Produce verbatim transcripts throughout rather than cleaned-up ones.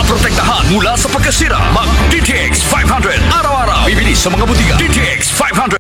Protektahan mula sa pagkasira. Mag D T X five hundred araw-araw. Bibili sa mga butika. D T X five hundred.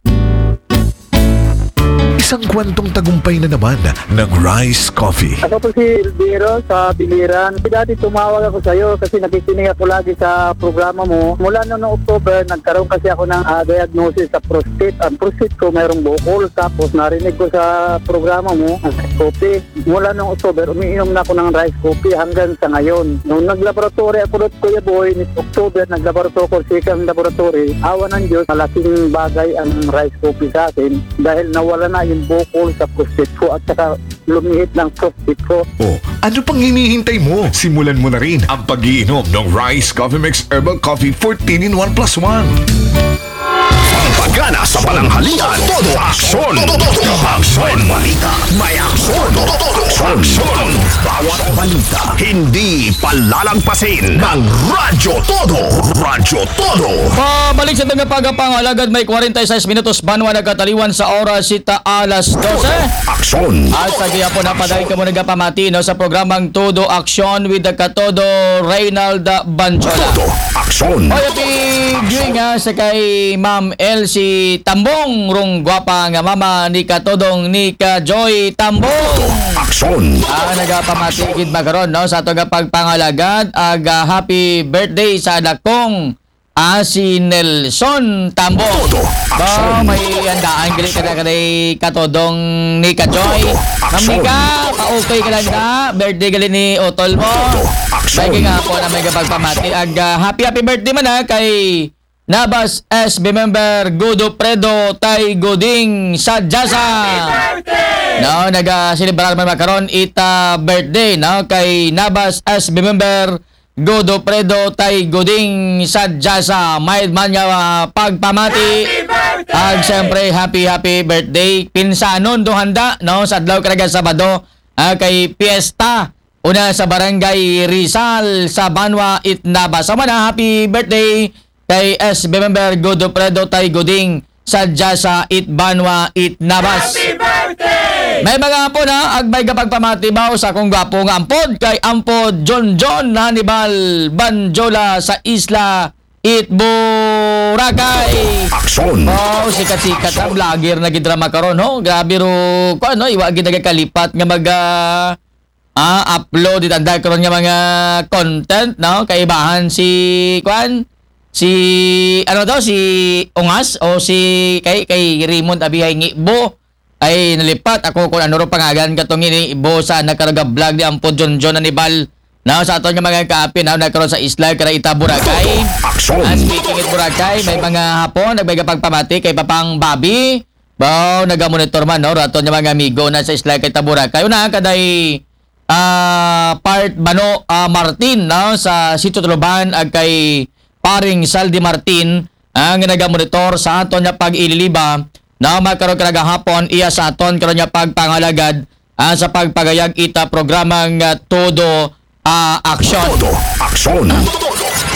Isang kwentong tagumpay na naman ng Rise Coffee. Ako po si Elviro sa Biliran. Dati tumawag ako sa iyo kasi nakikinig ako lagi sa programa mo. Mula noong October, nagkaroon kasi ako ng ah, diagnosis sa prostate. Ang prostate ko mayroong bukol. Tapos narinig ko sa programa mo, ang Rise Coffee. Mula noong October, umiinom na ako ng Rise Coffee hanggang sa ngayon. Nung naglaboratory ako doon, Kuya Boy, ni October, naglaboratory ako sa isang laboratory. Awa ng Diyos, malaking bagay ang Rise Coffee sa akin dahil nawala na yung bukol sa prostate ko at saka lumihit ng prostate ko. Oh, ano pang hinihintay mo? Simulan mo na rin ang pag-iinom ng Rise Coffee Mix Herbal Coffee fourteen in one plus one. Pagana sa pananghalian, todo aksyon. Todo aksyon. Balita, may aksyon. Todo aksyon. Bawat balita, hindi palalagpasin ng Radyo Todo. Radyo Todo. Pabalik sa tangga pagapang alagad may forty-six minutos banwa nagkataliwan sa oras sita alas dose. Aksyon. At sa gihapon na padayon kamo nagapamati no, sa programang Todo Aksyon with the Katodo Reynald Banjola. Todo aksyon. Oy, happy viewing nga sa kay Ma'am Elsie Tambong, rong gwapa nga mama ni Katodong ni ka Joy Tambong. Aksyon. Ah, nagapamati gid ba karon no sa ato nga pagpangalagad ag ah, happy birthday sa anak kong ah, si Nelson Tambong. Todo Ba, aksyon. May andaan gali ka na kay Katodong ni ka Joy. Todo Ma'am aksyon. Nika, pa-okay ka lang na. Birthday gali ni Otol mo. Todo aksyon. May nga po na may kapagpamati. Ag ah, happy happy birthday man ha kay Nabas S B member Godofredo Tay Goding sa Jasa. No, naga-celebrar man makaron ita birthday no kay Nabas S B member Godofredo Tay Goding sa Jasa. May man nga ah, pagpamati. Ag siyempre happy happy birthday pinsanon do handa no sa adlaw karaga Sabado ah, kay piyesta una sa Barangay Rizal sa Banwa Itnaba. Sa mana, happy birthday kay S B member Godofredo Tay Goding sa Jasa Itbanwa Itnabas. Happy birthday! May mga apo na, ag may kapagpamatibaw sa akong gwapo nga ampod kay ampod John John Hannibal Banjola sa Isla It Boracay. Aksyon. Oh, sikat-sikat na vlogger na gidrama karon ho. Grabe ro, ko ano, iwa gid nagakalipat nga mag ah, upload itanda karon nga mga content no kaibahan si kwan si ano daw si Ungas o si kay kay Raymond Abihay Ngibo ay nalipat ako kung ano ro pangalan katong ini ibo sa nagkaraga vlog ni Ampo John John Anibal no sa aton nga mga kaapin na nagkaroon sa isla kara ita Boracay. Aksyon. Ah, speaking it Boracay, may mga hapon nagbay pagpamati kay Papang Bobby Bao, nagamonitor man, no? Raton nga mga amigo na sa Isla kay Taburacay. Una, kaday ah, part Bano ah, Martin, no? Sa Sitio Tuluban, ag kay paring Saldi Martin, ang nagamonitor sa aton nga pag-ililiba, na makaroon ka gahapon, iya sa aton karon nga pagpangalagad ah, sa pagpagayag ita programang ah, Todo ah, Aksyon. Todo aksyon.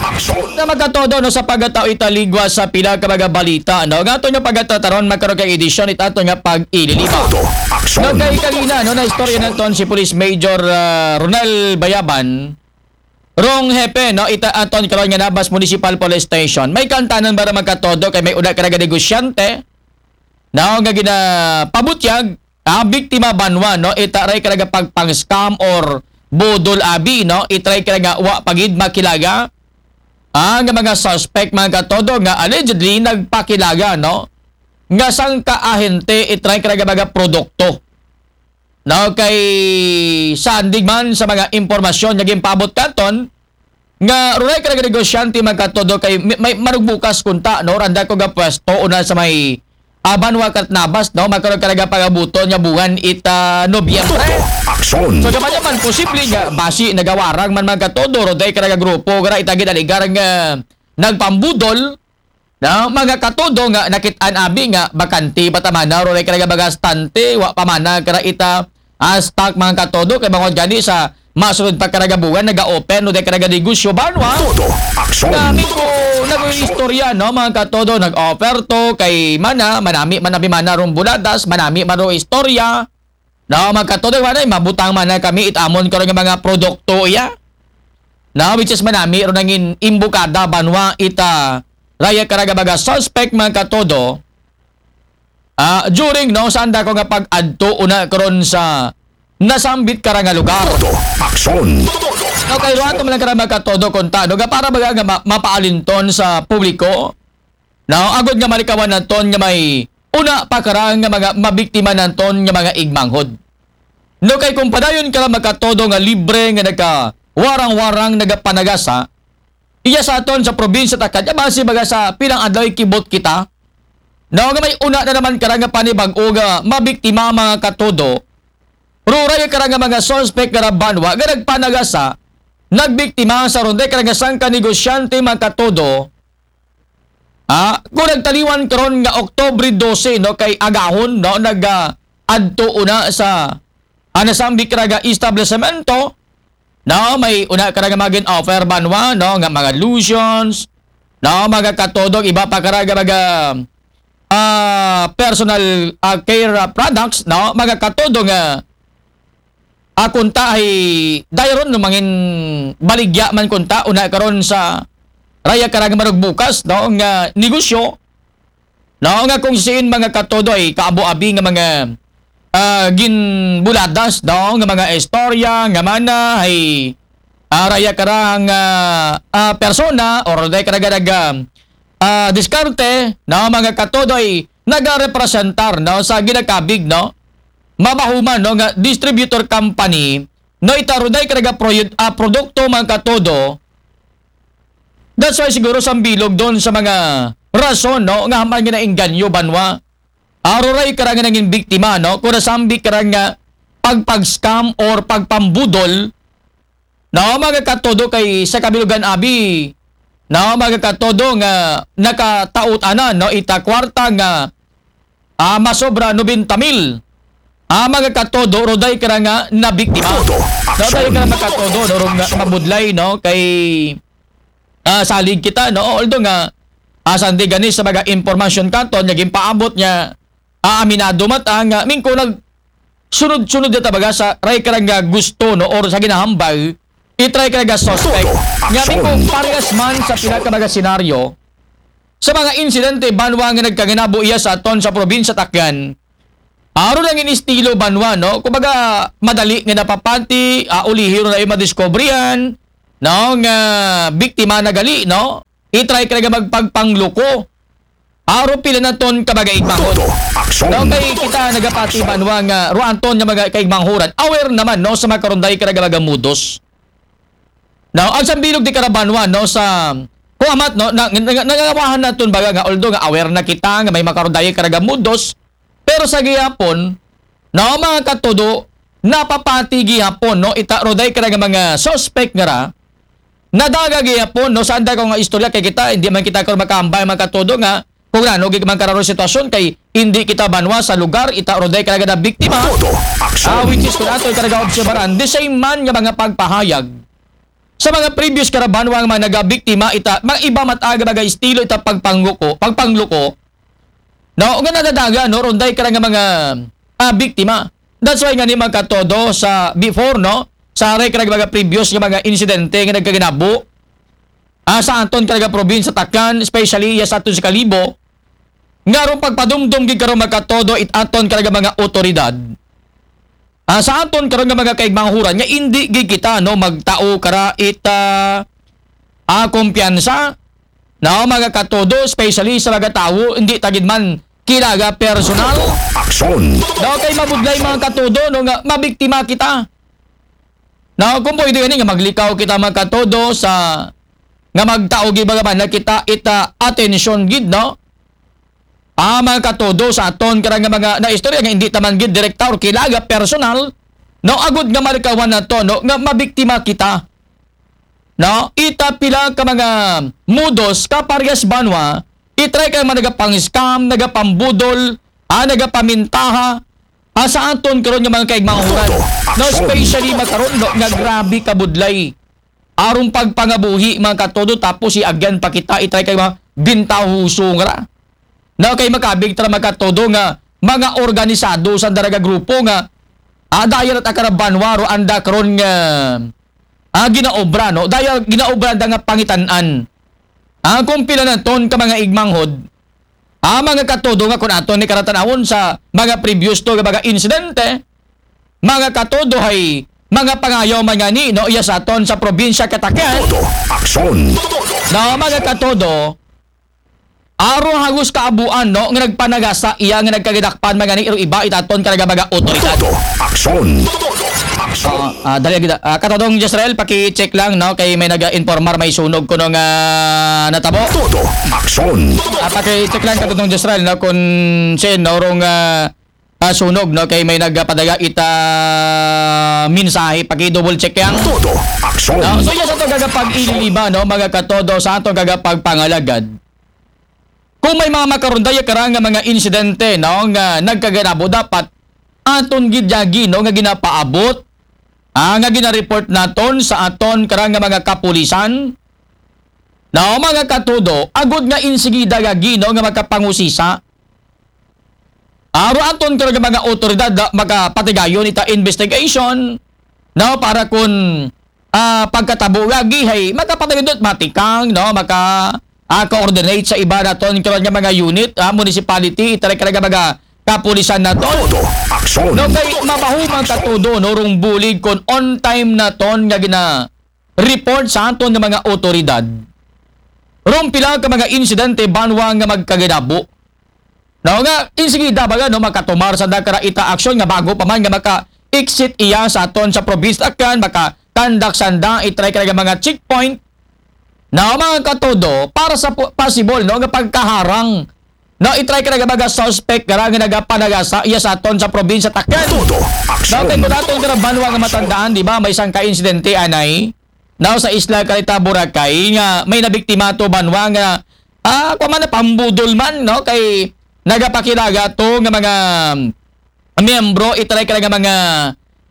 Aksyon. Na magkatodo no sa pagkatao italigwa sa pila ka mga balita no nga ato nga pagkatataron makaroon kay edisyon itato nga pag-ililiba. Todo aksyon. No kay kanina no na istorya naton si Police Major ah, Ronel Bayaban rong hepe no ita aton karon nga Nabas Municipal Police Station may kantanan para magkatodo kay may una ka negosyante no nga ginapabutyag ah, biktima banwa no itaray ka nga pagpang-scam or budol abi no itry ka nga wa pagid makilaga ah, nga mga suspect mga katodo nga allegedly nagpakilaga no nga sangka ahente itry ka nga mga produkto no kay sandig man sa mga impormasyon nga ginpabot katon nga ruray ka nga negosyante magkatodo kay may, may manugbukas kunta no randa ko nga pwesto una sa may Abanwa kat Nabas no magkaroon ka nga pangabuton nga buwan ita Nobyembre. Aksyon. So gaman naman posible nga basi nagawarang man magkatodo ruday ka nga grupo nga ita ginaligar nga nagpambudol na mga katodo nga nakit-an abi nga bakante ba tamana ruray ka nga bagastante wa pa mana kara ita ah, stock mga katodo kay bangod gani sa masunod pa karagabugan naga-open no day karaga negosyo banwa Todo aksyon. Kami ko nag-istorya no mga katodo nag-offer to kay mana manami manabi mana rong buladas manami man rong istorya no mga katodo mana mabutang mana kami itamon karon nga mga produkto iya Na, which is manami ro nangin imbukada banwa ita raya kara nga baga suspect, mga katodo. Ah, during, no, sanda ko nga pag-adto una karon sa nasambit kara nga lugar. Todo aksyon. No, kay ruato man lang kara, mga katodo, kung tano nga para baga nga ma- mapaalinton sa publiko. No, agud nga malikawan naton nga may una pa kara nga mga mabiktima naton nga mga igmanghod. No, kay kung padayon kara, mga katodo, nga libre nga nagkawarang-warang nagapanagasa, iya sa aton sa probinsya ta kadya, basi baga sa pilang adlaw kibot kita. No, nga may una na naman kara nga panibag-o nga mabiktima, mga katodo. Ruray kara nga mga suspect nga banwa nga nagpanagasa, nagbiktima sa runday kara nga sangka negosyante, mga katodo. Ah, kung nagtaliwan karon nga Oktubre dose, no, kay agahon, no, nag ah, adto una sa, ah, nasambit kara nga establishmento, no, may una kara nga magin offer banwa, no, nga mga lotions, no, mga katodo, iba pa kara nga mga ah, personal ah, care ah, products, no, mga katodo, nga ah, kunta ay dayron no mangin baligya man kunta una karon sa raya kara nga marugbukas, no, nga negosyo, no, nga kung siin, mga katodo, ay kaabo-abi nga mga ah, ginbuladas, no, nga mga istorya nga mana ay ah, raya kara nga ah, persona or day kara nga nag ah, diskarte, no, mga katodo, ay nagarepresentar, no, sa ginakabig, no, mabahuman, no, nga distributor company, no, ita ruday kara nga proyut- ah, produkto, mga katodo. That's why siguro sambilog doon sa mga rason, no, nga haman nga nainganyo banwa. Aruray kara nga nangin biktima, no, kung nasambit kara nga pagpag-scam or pagpambudol, no, mga katodo, kay sa kabilugan abi, no, mga katodo, nga nakataot ana, no, ita kwarta nga ah, masobra nobenta mil. Ah, mga katodo, ruday kara nga nabiktima. Todo. Ruday kara, mga katodo, no, rong nga mabudlay, no, kay ah, salig kita, no, although nga ah, sandi gani sa mga impormasyon katon nga ginpaabot nga ah, aminado man ta nga mingko nag sunod-sunod na tabaga sa ray kara nga gusto, no, or sa ginahambal, itry kara nga suspect. Todo. Nga mingko parehas man sa pila ka mga senaryo, sa mga insidente banwa nga nagkaginabo iya sa aton sa probinsya Takyan, aro lang in estilo banwa, no? Kumbaga, madali nga napapati, ah, ulihi ro na yung madiskubrihan, no? Nga biktima na gali, no? I-try ka nga magpagpangluko. Aro pila naton ka mga igmahon. Todo aksyon. No, kay kita nagapati banwa nga ruanton nga mga kaigmanghuran. Aware naman, no, sa mga karunday ka nga mga mudos. Now, ang sambilog di karabanwa, no, sa kuamat, no, na, na, nangangawahan naton baga nga, although nga aware na kita nga may makarudayi karaga mudos, pero sa gihapon, no, mga katudo, napapati gihapon, no, ita ruday karaga mga suspect nga ra, nadaga gihapon, no, sa anda ko nga istorya kay kita, hindi man kita ko makambay, mga katudo, nga kung ano gid man kararo sitwasyon kay hindi kita banwa sa lugar, ita ruday karaga na biktima. Todo aksyon. Ah, which is kung ato karaga obserbaran, the same man nga mga pagpahayag sa mga previous karabanwa nga mga nagabiktima ita, mga iba mataga mga estilo ita pagpangluko, pagpangluko. No, nga nadadaga, no, runday ka nga mga ah, biktima. That's why nga ni mga katodo sa before, no, sa aray ka mga previous nga mga insidente nga nagkaginabo ah, sa aton karaga probinsya Takan, especially ya sa aton sa Kalibo, nga ron pagpadumdum gid karon mga katodo it aton karaga mga otoridad. Ah, sa aton karon nga mga kaigmanghuran nga indi gid kita, no, magtao kara ita ah, kumpiyansa, no, mga katodo, especially sa mga tawo hindi ta gid man kilaga personal. Aksyon. No, kay mabudlay mga katodo, no, nga mabiktima kita. No, kung pwede gani nga maglikaw kita mga katodo sa nga magtao gid baga man na kita ita atensyon gid, no? Ah, mga katodo sa aton karang nga mga naistorya nga hindi taman gid direkta or kilaga personal, no, agud nga malikawan nato, no, nga mabiktima kita. No, ita pila ka mga mudos ka parehas banwa, itry ka mga nagapang-scam, nagapambudol, ah, nagapamintaha ah, sa aton karon nga mga kaigmanghuran. No, especially makaron, no, nga grabe kabudlay arong pagpangabuhi, mga katodo, tapos si agyan pa kita itry kay mga bintahuso nga ra. No, kay makabig tara, mga katodo, nga mga organisado sa daraga grupo nga ah, dahil at akarabanwa ro anda karon nga ah, ginaobra, no? Daya ginaobra da nga pangitan-an. Ah, kung pila naton ka mga igmanghod, ah, mga katodo nga kun aton ni karatan-awon sa mga previous to nga mga insidente, mga katodo hay mga pangayaw man ngani, no, iya sa aton sa probinsya Catacan. Todo aksyon. No, mga katodo, aro hagos kaabuan, no, nga nagpanagasa iya nga nagkagadakpan man ngani iro iba itaton karaga mga otoridad. Todo aksyon. Ah, ah, dali kita. Ah, katodong Jezreel, paki-check lang, no, kay may naga-informar may sunog kuno nga natabo. Todo aksyon. Ah, paki-check lang katodong Jezreel, no, kung sin, no, rong, ah, ah, sunog, no, kay may nagpadala ita mensahe, paki-double check yang. Todo aksyon. No, so, yes, ato kagapag-ililiba, no, mga katodo, sa ato kagapagpangalagad. Kung may mga makaron daya kara nga mga insidente, no, nga nagkaganabo, dapat aton gid yagi, no, nga ginapaabot, ah, nga gina-report naton sa aton kara nga mga kapulisan, no, mga katodo, agud nga insigida yagi, no, nga makapangusisa. Aro aton kara nga mga otoridad, ah, makapatigayon ita investigation, no, para kun, ah, pagkatabo lagi hay makapatigayon matikang, no, maka, ah, coordinate sa iba naton kara nga mga unit, ah, municipality, itaray kara nga mga kapulisan naton. Todo aksyon. No, kay mabaho man katodo, no, rong bulig kun on time naton nga gina-report sa aton nga mga otoridad rong pila ka mga insidente banwa nga magkaganabo. No, nga insigida baga, no, makatumar sanda kara ita aksyon nga bago pa man nga maka-exit iya sa aton sa probinsya Catacan, maka-conduct sanda, itaray kara nga mga checkpoint. No, mga katodo, para sa po-, possible, no, nga pagkaharang, no, itaray kara nga mga suspect kara nga nagapanagasa iya sa aton sa probinsya Catacan. Todo aksyon. No, kay kun aton kara banwa nga matandaan, di ba, may sangka insidente anay, no, sa isla kara ita Boracay nga may nabiktima to banwa nga, ah, kuwan man, napambudol man, no, kay nagapakilala to nga mga miyembro, itaray kara nga mga,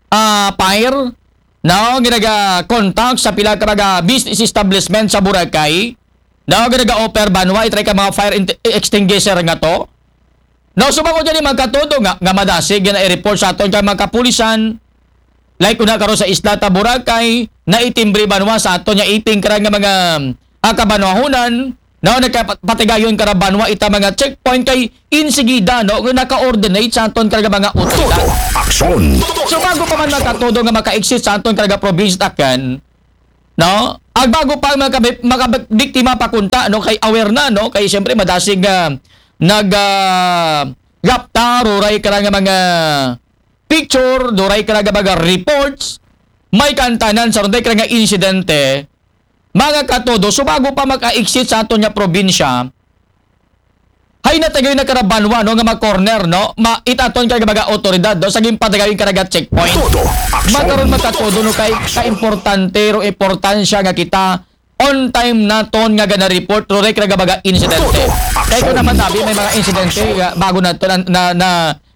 ah, fire, no, nga naga-contact sa pila ka mga business establishment sa Boracay, no, nga naga-offer banwa, itaray ka mga fire int-, extinguisher nga to. No, sumango dyan yung mga katodo nga, nga madasig, nga na-report sa aton kay mga kapulisan. Like, una karon sa isla ta Boracay, naitimbre banwa sa aton nga iping kara nga mga, ah, kabanwahunan, no, nagkapatigayon kara banwa ita mga checkpoint kay insigida, no, nga naka-coordinate sa aton kara nga mga otoridad. Todo aksyon. So, bago pa man mga katodo nga maka-exit sa aton kara nga probinsya Catacan, no? Ag bago pa ang mga kabi-, mga biktima pa kunta, no? Kay aware na, no? Kay siyempre madasig nga nag, ah, gapta, ruray kara nga mga picture, duray kara nga mga reports, may kantanan sa runday kara nga insidente, mga katodo, so bago pa maka-exit sa aton nga probinsya, hay natigayon na kara banwa, no, nga ma-corner, no? Ma-, itaton kara nga mga otoridad, no, sa ginpatigayon kara nga checkpoint. Todo aksyon. Makaron mga katodo, no, kay kaimportante, ro importansya nga kita on time naton nga gana-report, ro, kara nga mga insidente. Todo aksyon. Kay kun naman tabi, may mga insidente, ah, bago naton na, na, na,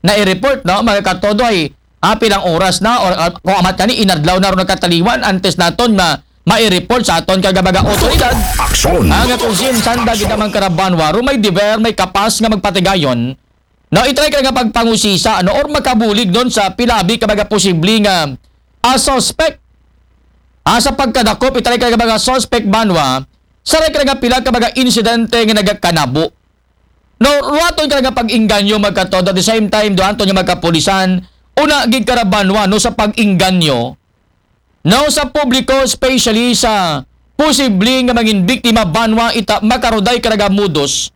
na-report, no, mga katodo, ay, ah, pilang oras na, or, ah, kun amat kani, inadlaw na ro nagkataliwan, antes naton ma-, mai-report sa aton kara nga mga otoridad. Aksyon. Ah, nga kun sin sanda gid naman kara banwa, ro may deber, may kapas nga magpatigayon, no, itry kara nga pagpangusisa, no, or makabulig don sa pila abi ka mga posible nga, ah, suspect. Ah, sa pagkadakop, itry kara nga mga suspect banwa, sa kara nga pila ka mga insidente nga nagakanabo. No, ruwaton kara nga pag-inganyo mga katodo, at the same time, duanton nga mga kapulisan, una gid kara banwa, no, sa pag-inganyo, no, sa publiko, especially sa posible nga mangin biktima banwa ita makaruday kara nga modus.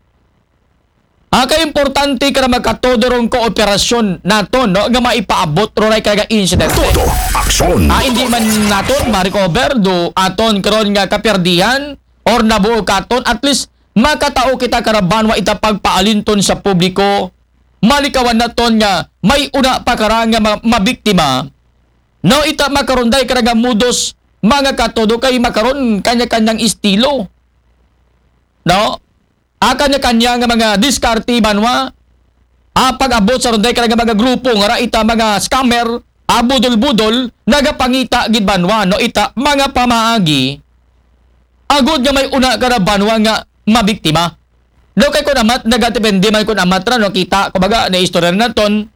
Ah, kay importante kara mga katodo rong kooperasyon naton, no, nga maipaabot ruray kara nga insidente. Todo aksyon. Ah, hindi man naton ma-recover do aton karon nga kaperdihan or nabuo katon, at least makatao kita kara banwa ita pagpaalinton sa publiko, malikawan naton nga may una pa kara nga ma-, mabiktima. No, ita makarunday kara nga modus, mga katodo, kay makaron kanya-kanyang estilo. No? Ah, kanya-kanya nga mga diskarte banwa. Ah, pag-abot sa runday kara nga mga grupo nga ra ita mga scammer, ah, budol-budol, nagapangita gid banwa, no, ita mga pamaagi. Agud nga may una kara banwa nga mabiktima. No, kay kun amat, nagadepende man kun amat ra, no, kita, kumbaga, na istorya naton.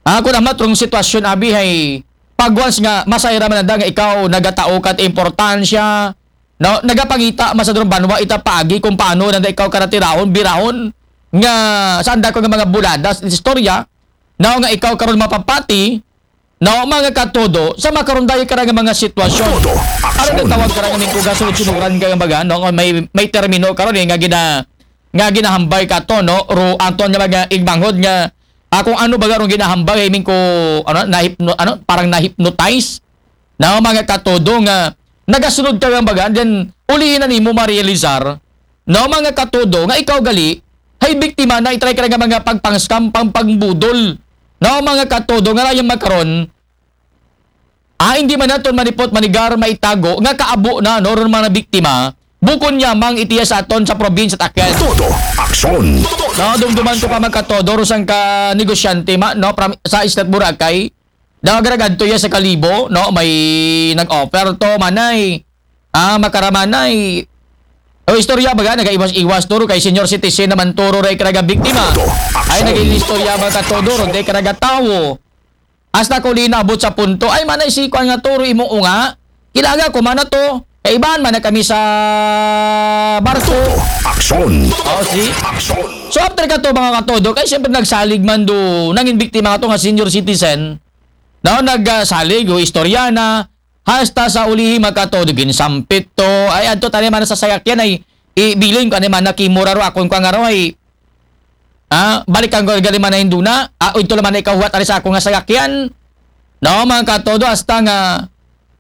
Ah, kun amat rong sitwasyon abi hay pag once nga masayra man nanda nga ikaw nagatao ka ti importansya, no? Nagapangita man sa duron banwa ita paagi kung paano nanda ikaw karatirahon, birahon, nga sanda ko nga mga buladas, istorya, no? Nga ikaw karon mapapati, no? Mga katodo, sa makaron dayo ka nga mga sitwasyon. Todo Ano aksyon. Natawag ka nga mingkuga sunod-sunuran ka nga baga, no? Nga may, may termino karon eh, nga gina, nga ginahambay ka to, no? Ro, anton nga mga igmanghod nga, ah, kung ano baga rong ginahambay, I mean ko, ano, nahipno, ano, parang na-hypnotize. Na mga katodo nga, nagasunod ka nga baga, then ulihin na nimo ma-realizar, no, mga katodo, nga ikaw gali, hay biktima na itry ka nga mga pagpang-scam, pangpangbudol, no, mga katodo, nga rayang makaron, ah, hindi man naton manipot, manigar, maitago, nga kaabo na, no, ron mga biktima, bukon niya mang itiya sa aton sa probinsya takyan. Todo aksyon. No, dumduman ko pa magkatodo, ro sang ka negosyante ma, no, pram, sa Isla Boracay, daw agaragad to iya sa Kalibo, no, may nag-offer to, manay, ah, makaramanay. O istorya baga, nagaiwas-iwas turo kay senior citizen naman turo ray karaga biktima. Todo aksyon. Ay, naging istorya ba ka todo, ron, day karaga tawo. Hasta ko linabot sa punto, ay manay si kwan nga turo imong unga, kilaga ko man na to, kaibahan man na kami sa barko. Aksyon. Oh, see? Aksyon. So after ka to mga katodo, kay siyempre nagsalig man do, nangin biktima to nga senior citizen, no, nagsalig, o istorya na, hasta sa ulihi mga katodo, ginsampit to, ay adto tani man sa sayakyan ay, ibilin ko ani man na kimura ro akon ko nga ro ay, ah, balikan ko gali man na induna, ah, ito naman na ikahuwat ari sa ako nga sayakyan, no, mga katodo, hasta nga,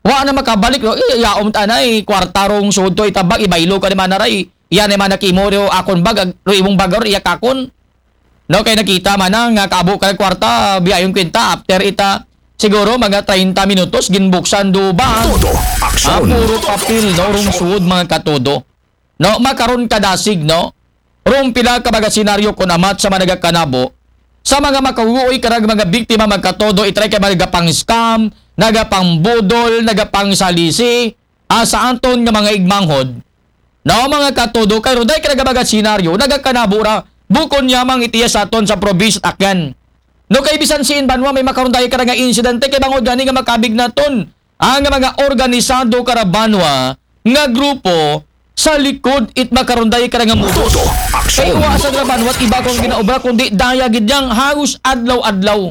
wa na makabalik, no, i, yaom tanay, kwarta rong suod to, itabag, ibaylo ka ni man na ray, iya ni man na kimura ro akon bag, ag, ro imong bag, ro iya kakon, no, kay nakita man na nga kaabo ka kwarta, biyayon kwenta, after ita, siguro mga treinta minutos, ginbuksan do ba? Todo aksyon. Ah, puro papel, no, rong suod, mga katodo. No, makaron kadasig, no? Rong pila ka mga senaryo kun amat sa mga nagakanabo, sa mga makahuoy karag mga biktima magkatodo, itry kay nagapang-scam, nagapangbudol, nagapangsalisi, ah, sa aton nga mga igmanghod. No, mga katodo, kay ruday ka nagabagat senaryo, nagakanabo ra, bukon niya mang itiya sa aton sa probinsya Akyan. No, kay bisan siin banwa may makaruday ka nga insidente, kay bangod gani nga makabig naton ang mga organisado kara banwa nga grupo sa likod it makaruday ka nga modus. Todo aksyon. Kay wa sa kara banwa iba kung ginaobra, kundi daya gid yang halos adlaw-adlaw.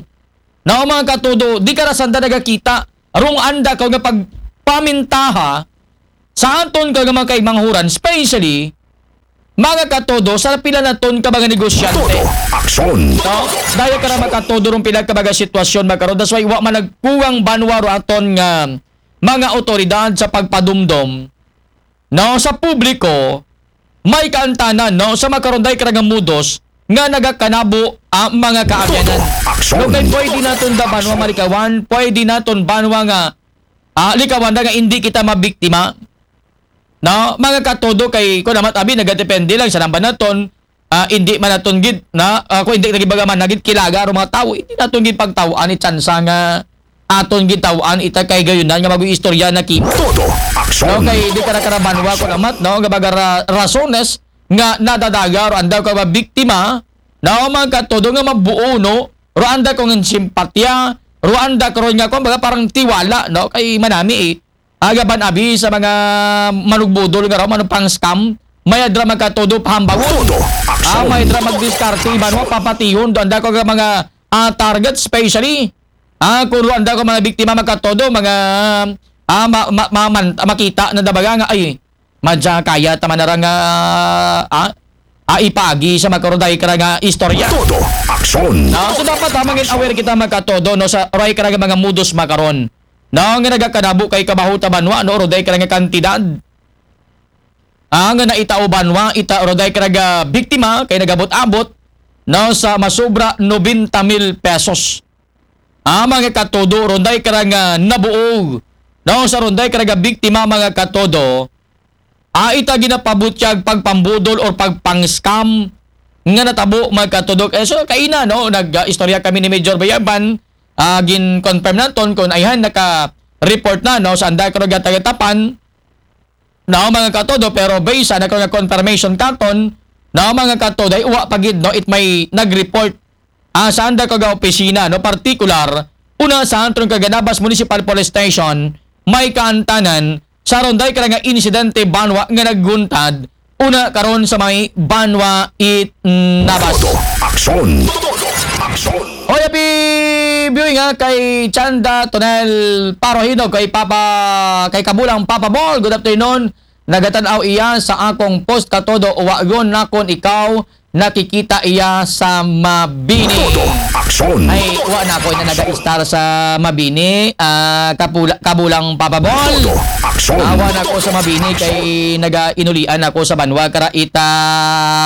Now, mga katodo, di ka ra sanda nagakita, rong anda ka nga pagpamintaha sa aton ka nga mga kaimanghuran, especially, mga katodo, sa pila naton ka mga negosyante. Todo aksyon. No? Daya ka ra makatodo rong pila ka mga sitwasyon, mga karon. That's why, wa man nagkuwang banwa ro aton nga mga otoridad sa pagpadumdom, no, sa publiko, may kaantanan, no, sa makaruday ka nga modus nga nagakanabo ang mga kaabyanan. Todo aksyon. No, kay pwede naton da banwa malikawan, pwede naton banwa nga, ah, likawan da nga hindi kita mabiktima. No, mga katodo kay kun amat abi nagadepende lang sa namba naton, ah, hindi man naton gid na, ah, kung hindi nagibagaman na gid kilaga ro mga tawo, hindi naton gid pagtawaan ni tsansa nga aton gitawaan ita kay gayunan nga mag-istorya na kimo. Todo aksyon. No, kay di ka nakarabanwa kun amat, no, nga baga ra-, rasones nga nadadaga ro anda ka mga biktima, no, mga katodo nga mabuo, no, ro anda ko nga simpatya, ro anda ko ron nga, kumbaga, parang tiwala, no, kay manami eh. Agaban abi sa mga manugbudol nga raw, manupang scam, may adra magkatodo pahambagon. Todo aksyon. Ah, may adra magdiskarte, iban mo papatihon, do anda ko nga mga, ah, target, especially, ah, kung anda ko mga biktima magkatodo, mga, ah, ma, ma, ma, man, makita na dabaga nga, ay, madya kaya taman na ra nga, ah, ah, ipagi sa makaruday ka ra nga istorya. Todo aksyon. No, so dapat ha, mangin aware kita magkatodo, no, sa ray ka ra nga mga modus makaron. No, nga nagakanabo kay kabaho ta banwa, no, ruday ka ra nga kantidad. Ah, nga naitao banwa, ita ruday ka ra nga biktima kay nagabot-abot, no, sa masobra nobenta mil pesos. Ah, mga katodo, ruday ka ra nga nabuo, no, sa ruday ka ra nga biktima, mga katodo, ah, ita ginapabutyag pagpambudol or pagpang-scam nga natabo, mga katodo. Eh, so, kaina, no, nag, ah, istorya kami ni Major Bayaban, ah, gin-confirm naton kung ayhan naka-report na, no, sa anda ka ra nga taga-Tapan, no, mga katodo, pero based sa naka-confirmation katon, no, mga katodo, ay uwa pa gid, no, it may nag-report, ah, sa anda ka nga opisina, no, particular, una sa aton kaga Nabas Municipal Police Station, may kaantanan sa ron day kara nga insidente banwa nga nagguntad, una karon sa may Banwa it Nabas. Todo aksyon. Todo aksyon. Hoy, happy viewing ha, kay Chanda Tonel Parohino, kay Papa, kay Kabulang Papa Ball. Good afternoon. Nagatan-aw iya sa akong post ka todo, wa yun nakon ikaw nakikita iya sa Mabini. Todo aksyon. Ay, wa na ako na naga-star sa Mabini. Ah, kapula, kabulang Papa Ball. Todo aksyon. Awa na ako sa Mabini kay naga-inulian ako sa banwa kara ita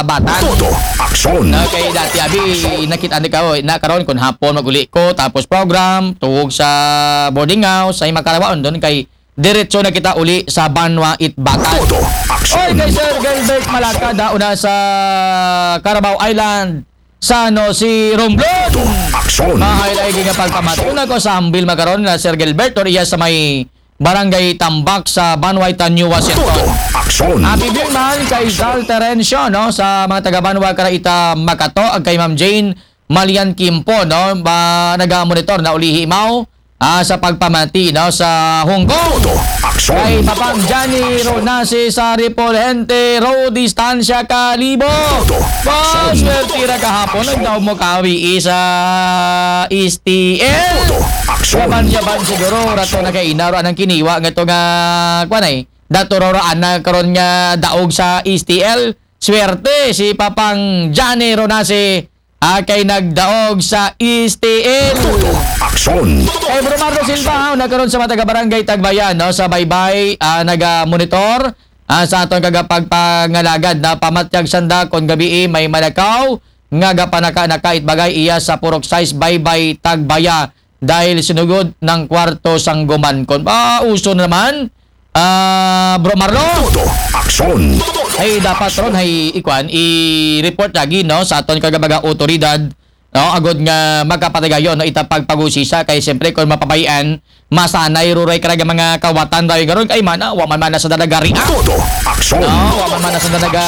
Batan. Todo aksyon. Na kay dati abi nakita ni ka, oy, na karon kun hapon maguli ko tapos program, tuwog sa boarding house, ay makarawaon doon kay diretso na kita uli sa Banwa it Batan. Todo aksyon. Oy, kay Sir Gilbert Malacada, una sa Carabao Island, San Jose, Romblon. Todo aksyon. Mahay lagi nga pagpamati. Una ko sa Hambil makaron na Sir Gilbert, or iya sa may Barangay Tambak sa Banwa it New Washington. Todo aksyon. Happy viewing man kay Zal Terencio, no, sa mga taga Banwa kara ita Makato, ag kay Ma'am Jane Malian Kimpo, no, ba, naga-monitor na ulihi mao, ah, sa pagpamati, no, sa Hong Kong. Todo aksyon. Kay Papang Johnny Ronase sa Repolhente Road, Distansya Kalibo. Todo aksyon. Swerte ra kahapon, nagdaog mo kawi sa S T L. Todo aksyon. Yaban-yaban siguro, rato na kay Inaro, anang kiniwa nga to nga, kwan ay, dato ro ra ana karon nga daog sa S T L. Swerte si Papang Johnny Ronase, ah, kay nagdaog sa S T L. Todo aksyon. Kay Bro Marlo Silva, ha, una karon sa mga taga-barangay Tagbayan, no, sa Baybay, ah, naga-monitor, ah, sa aton kagapagpangalagad na pamatyag sanda kon gabii may malakaw nga gapanaka-naka it bagay iya sa Purok sais Baybay Tagbaya dahil sinugod ng kwarto sangguman. Kon ba uso naman, ah, Bro Marlo? Todo aksyon. Ay, dapat ron, ay, ikwan, i-report lagi, no, sa aton kagabaga otoridad, no, agod nga makapatigayon, no, ita pagpagusisa, kay siyempre, kung mapabayan, masanay ruray karaga mga kawatan daw yung garon, kay mana, wa man mana sa dalaga react. Todo aksyon. No, wa man mana sa dalaga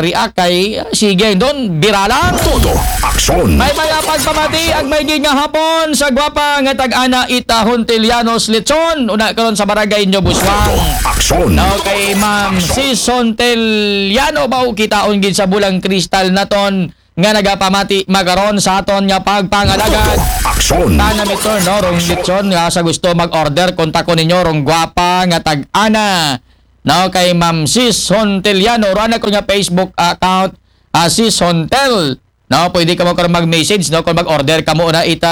react, kay, ah, sige, doon, biralang. Todo aksyon. May mga pagpamati, ag may gid nga hapon, sa gwapa nga tag-ana ita Hontelianos Lechon, una karon sa barangay Nyo Buswang. Todo aksyon. No, kay Ma'am Sis Honteliano, ba, kitaon gid sa bulang kristal naton, nga nagapamati makaron sa aton nga pagpangalagad. Todo aksyon. Tana mitor, no, rong lechon nga sa gusto mag-order, kontakon ninyo rong gwapa nga tag-ana. No, kay Ma'am Sis Honteliano, ro ana ko nga Facebook account, ah, Sis Hontel. No, pwede ka mo karon mag-message, no, kung mag-order ka mo na ita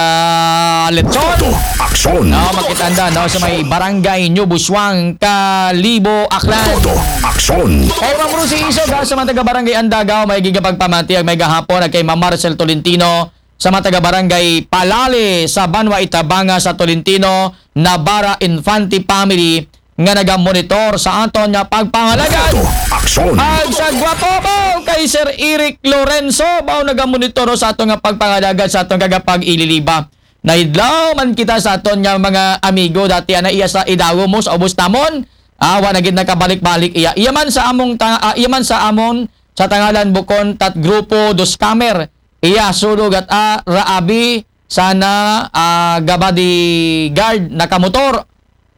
lechon. Todo aksyon. No, makitanda, no, sa may barangay New Buswang, Kalibo, Aklan. Todo aksyon. Kay Ma'am Rosie Isog, ha, sa mga taga-barangay Andagaw, may gigapagpamati, ag may gahapon, ag kay Ma'am Marcel Tolentino, sa mga taga-barangay Palale, sa Banwa Itabanga sa Tolentino, Navarra Infante family, nga nagamonitor sa aton nga pagpangalagad. Todo aksyon. Ag sa gwapo mo kay Sir Eric Lorenzo, bao nagamonitor sa aton nga pagpangalagad sa aton kagapag-ililiba. Naidlaw man kita sa aton nga mga amigo dati ana iya sa idawo mo sa ubos namon. Ah, wa na gid nakabalik-balik iya. Iya man sa among ta-, ah, iya man sa amon sa Tangalan Bukon tat grupo dos kamer. Iya sulog at, ah, raabi sana, ah, gabadi guard nakamotor.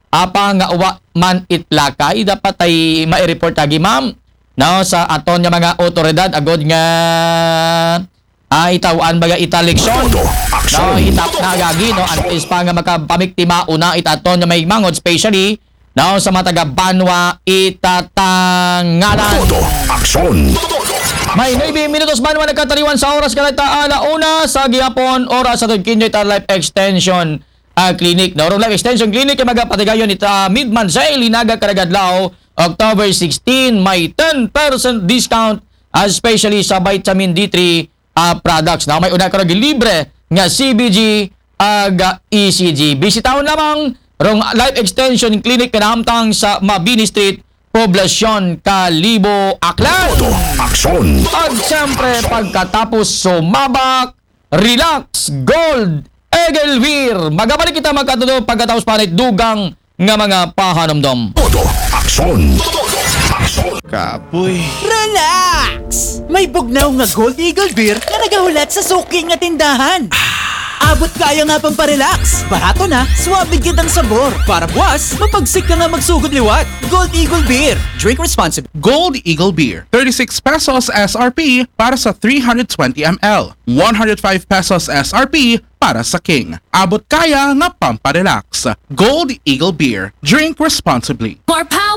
Apa nga wa man itlakay, dapat ay mai-report lagi, ma'am, no, sa aton nga mga otoridad agod nga, ah, itawan baga ita leksyon. Todo aksyon. No, itap na gagi, no, antes pa nga makapamiktima una ita aton nga may mangod, especially, no, sa mga taga Banwa ita Tangalan. Todo aksyon. May nuebe minutos man man nakataliwan sa oras, kanata ala una sa gihapon, oras sa Tugkinyo ita Life Extension ah, Clinic, no? Rong Life Extension Clinic, kay magapatigayon ita midman sa Ilinaga karagadlaw, October sixteen, may ten percent discount, ah, especially sa vitamin D three, ah, products. Na may una karag libre nga C B G ag E C G. Bisitahon lamang rong Life Extension Clinic nga nahamtang sa Mabini Street, Poblacion, Kalibo, Aklan. Todo aksyon. Ag siyempre, pagkatapos sumabak, relax, gold, Eagle Beer. Magabalik kita magkatudo pagkatapos pa ni dugang nga mga pahanumdom. Todo aksyon. Todo aksyon. Kapoy. Relax! May bugnaw nga Gold Eagle Beer nga nagahulat sa suki nga tindahan. Abot kaya nga pamparelax. Barato na, swabe kitang sabor. Para buwas, mapagsik ka nga magsugod liwat. Gold Eagle Beer. Drink responsibly. Gold Eagle Beer, thirty-six pesos S R P para sa three hundred twenty M L, one hundred five pesos S R P para sa King. Abot kaya nga pamparelax. Gold Eagle Beer. Drink responsibly. More power